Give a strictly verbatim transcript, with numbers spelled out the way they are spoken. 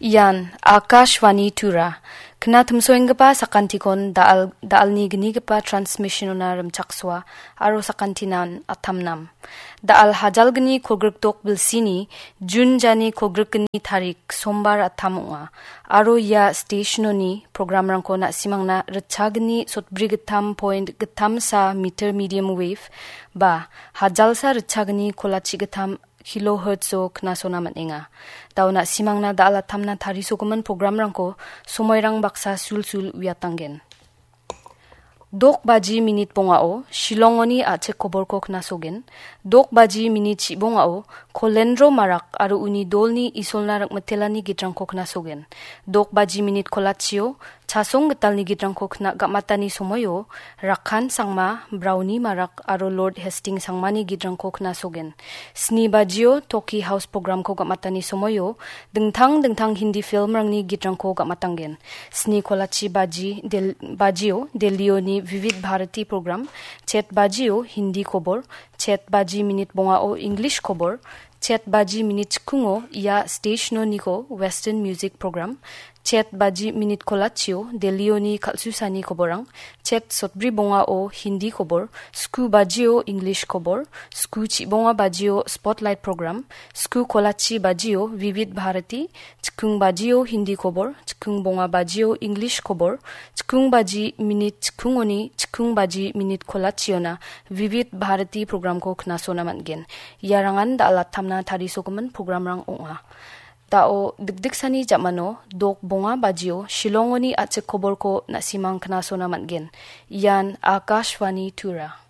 Ian Akashvani Tura. Kna timsoenggipa sakantikon da·al, da·alni gnigipa transmissionona rimchaksoa aro sakantinan atamnam. Da·al hajalgni kolgrikdok bilsini Jun jani kolgrikgni tarik Sombar atam ong·a. Aro ia stationoni programrangko na·simangna ritchagni sotbri gittam point gittamsa meter medium wave ba hajalsa ritchagni kolachi gittam kilohertzo knasona man·enga. Da·o na·simangna da·al atamna tarisogimin programrangko somoirang baksa sulsul uiatanggen. Dok baji minit bongao Shillongoni a·chik koborko knasogen. Dok baji minit chibongao Kolendro Marak aro uni dolni Isolna rikmitelani gitrangko knasogen. Dok baji minit kolachio Chasong Gitalni gitrangko kna gamatani somoio Rakhan Sangma, Brauni Marak aro Lord Hastings Sangmani gitrangko knasogen. Sni bajio Toki House programko gamatani somoio dingtang dingtang Hindi filmrangni gitrangko gamatanggen. Sni kolachi baji del-, bajio Delhioni Vivid Bharati program, chet bajio Hindi kobor, chet baji minit bongao English kobor, chet baji minit chikungo ia stationoniko Western Music Program, chet baji minit kolachio Delhioni kal·susani koborang, chet sotbri bongao Hindi kobor, sku bajio English kobor, sku chibonga bajio Spotlight Program, sku kolachi bajio Vivid Bharati, chikung bajio Hindi kobor, chikung bonga bajio English kobor, chikung baji minit chikungoni chikung baji minit kolachiona Vivid Bharati programko knasona man·gen. Iarangan da·al atamna tarisogimin programrang ong·a. Da·o dikdiksani jamano dok bonga bajio Shillongoni a·chik koborko na·simang knasona man·gen. Ian Akashvani Tura.